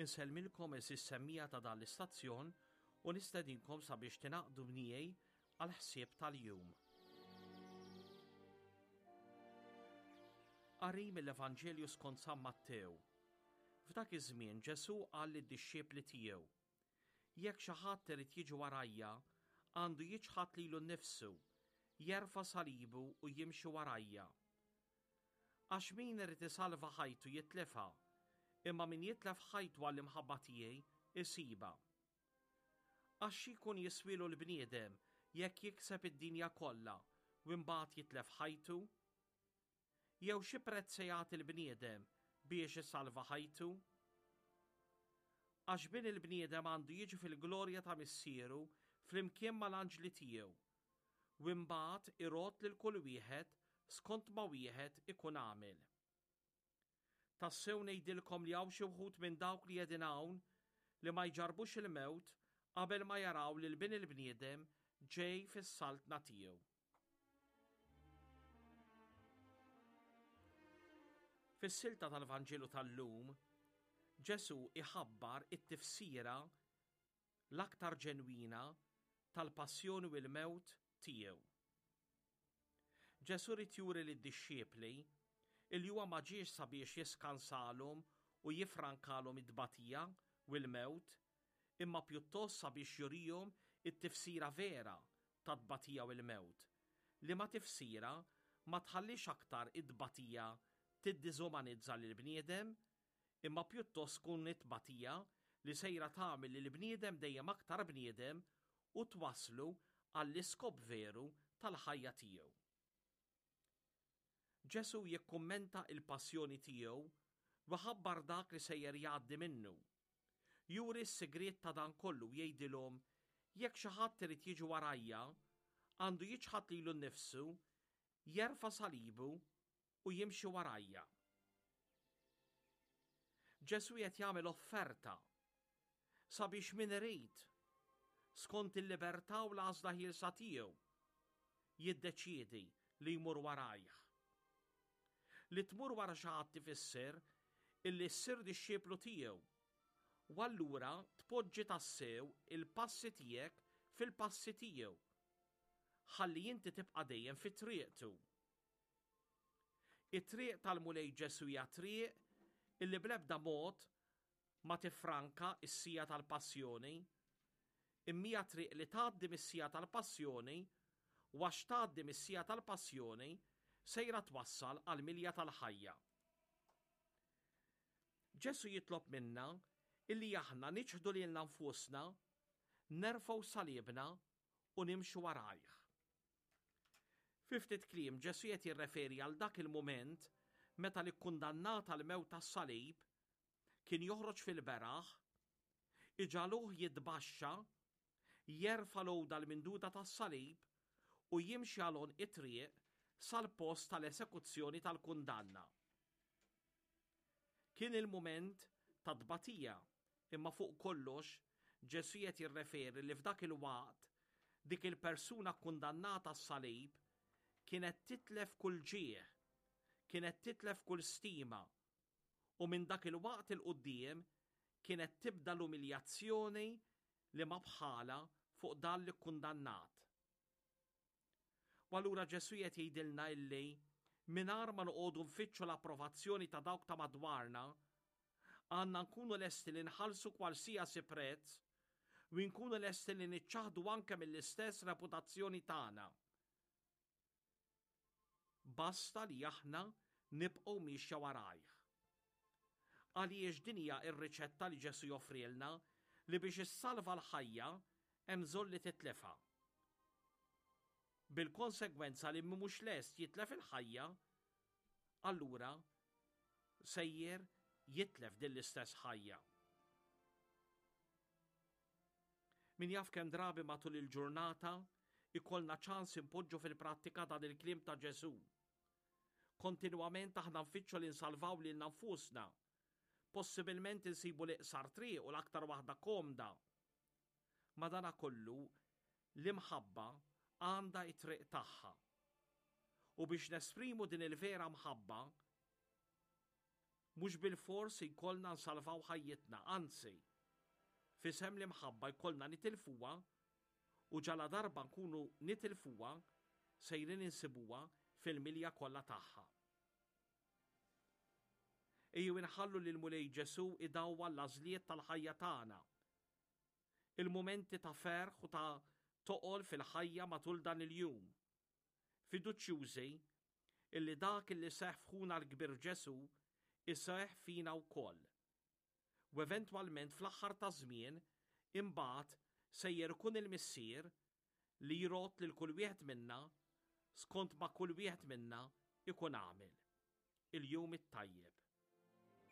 Insellmilkom għeżież semmiegħa ta' dan l-istazzjon u nistedinkom sabiex tingħaqdu miegħi għall-ħsieb tal-jum. Qari mill-Evanġelju skont San Mattew. F'dak iż-żmien Ġesù qal lid-dixxipli tiegħu, Jekk xi ħadd irid jiġi warajja, għandu jiċħad lilu nnifsu, jerfa' salibu u jimxi warajja. Għax min irid isalva ħajtu jitlifha, imma min jitlef ħajtu għall-imħabba tiegħi isibha. Għax xi jkun jiswielu l-bniedem jekk jikseb id-dinja kollha u mbagħad jitlef ħajtu? Jew xi prezz se jagħti l-bniedem biex isalva ħajtu? Għax bin il-bniedem għandu jiġi fil-glorja ta' Missieru flimkien mal-anġli tiegħu, u imbagħad irodd lil kull wieħed skont ma wieħed ikun għamel. Tassew ngħidilkom li hawn xi wħud minn dawk li qegħdin hawn li ma jġarrbux il-mewt qabel ma jaraw lil Bin il-bniedem ġej fis-saltna tiegħu. Fis-silta tal-Vanġelu tal-lum, Ġesù iħabbar it-tifsira l-aktar ġenwina tal-passjoni u l-mewt tiegħu. Ġesù ried juri lid-dixxipli illi huwa ma ġiex sabiex jiskansalhom u jiffrankalhom it-tbatija u l-mewt, imma pjuttost sabiex jurihom it-tifsira vera tat-tbatija u l-mewt, liema tifsira ma tħallix aktar it-tbatija tiddiżumanizza lill-bniedem, imma pjuttost tkun it-tbatija li sejra tagħmel lill-bniedem dejjem aktar bniedem u twasslu għall-iskop veru tal-ħajja tiegħu. Ġesù jikkummenta il-passjoni tiegħu u jħabbar dak li sejjer jgħaddi minnu. Juri s-sigriet ta' dan kollu u jgħidilhom jekk xi ħadd irid jiġi warajja, għandu jiċħad lilu nnifsu, jerfa' salibu u jimxi warajja. Ġesù qed jagħmel offerta sabiex min irid, skont il-libertà u l-għażla ħielsa tiegħu, jiddeċiedi li jmur warajh. Li tmur wara xi ħadd ifisser illi ssir dixxiplu tiegħu u allura tpoġġi tassew il-passi tiegħek fil-passi tiegħu ħalli inti tibqa' dejjem fi triqtu. It-triq tal-Mulej Ġesù hija triq illi bl-ebda mod ma tiffranka s-siegħa tal-passjoni, imma hija triq li tgħaddi mis-siegħa tal-passjoni u għax tgħaddi mis-siegħa tal-passjoni sejra twassal għall-milja tal-ħajja. Ġesù jitlob minna illi aħna niċħdu lilna nfusna, nerfgħu salibna u nimxu warajh. Fi ftit kliem, Ġesù qed jirreferi għal dak il-mument meta l-ikkundannat għall-mewt tas-salib kien joħroġ fil-beraħ, iġagħluh jitbaxxa, jerfa' l-għuda l-minduda tas-salib u jimxi għal għonq it-triq sal-post tal-esekuzzjoni tal-kundanna. Kien il-mument ta' tbatija, imma fuq kollox Ġesù qed jirreferi li f'dak il-waqt dik il-persuna kkundannata għas-salib kienet titlef kull ġieħ, kienet titlef kull stima, u minn dak il-waqt 'il quddiem kienet tibda l-umiljazzjoni li ma bħalha fuq dan l-ikkundannat. U allura Ġesù qed jgħidilna illi mingħajr ma noqogħdu nfittxu l-approvazzjoni ta' dawk ta' madwarna, għandna nkunu lesti li nħallsu kwalsiasi prezz u nkunu lesti li niċċaħdu anke mill-istess reputazzjoni tagħna. Basta li aħna nibqgħu miexja warajh. Għaliex din hija r-riċetta li Ġesù joffrilna li biex issalva l-ħajja hemm bżonn li titlifha. Bil-konsegwenza li min mhux lest jitlef il-ħajja, allura sejjer jitlef din l-istess ħajja. Min jaf kemm drabi matul il-ġurnata ikollna ċans inpoġġu fil-prattika dan il-kliem ta' Ġesù. Kontinwament aħna nfittxu li nsalvaw lilna nfusna. Possibilment insibu l-iqsar triq u l-aktar waħda komda. Madanakollu, l-imħabba għandha t-triq tagħha. U biex nesprimu din il-vera mħabba, Mhux bilfors jkollna nsalvaw ħajjitna, anzi, f'isem l-imħabba jkollna nitilfuha u ġaladarba nkunu nitilfuha sejrin insibuha fil-milja kollha tagħha. Ejjew inħallu lill-Mulej Ġesù idawwal l-għażliet tal-ħajja tagħna. Il-mumenti ta' ferħ u ta' toqol fil-ħajja matul dan il-jum. Fiduċjużi illi dak illi seħħ f'ħuna l-kbir Ġesù iseħħ fina wkoll. U eventwalment fl-aħħar taż-żmien imbagħad sejjer ikun il-Missier li jrodd lil kull wieħed minna skont ma kull wieħed minna jkun għamel. Il-jum it-tajjeb.